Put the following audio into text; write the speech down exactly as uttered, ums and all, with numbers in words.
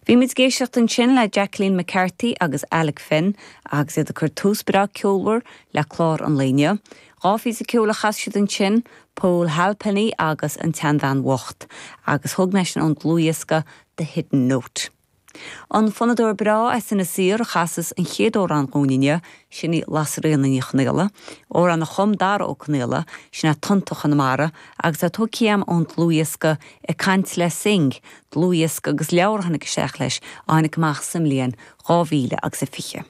Bhí muid ag éisteacht ansin le Jacqueline McCarthy agus Alec Finn agus iad ag cur tús breá ceolmhar le clár an lae inniu. Dhá phíosa ceoil a chas siad ansin, Paul Halpenny agus an tSeanbhean Bhocht, agus thug mé sin ón dlúthdhiosca The Hidden Note. An fonnadóir breá as Inis Oírr a chasas an chéad amhrán dúinn inniu, sin í Lasairíona Ní Chonaola, amhrán a chum Dara Ó Conaola, sin é Tonnta Chonamara, agus é tógtha agam ón dlúthdhiosca Ag Caint le Synge, dlúthdhiosca agus leabhar a tháinig isteach leis a tháinig amach sa mbliain dhá mhíle agus a fiche.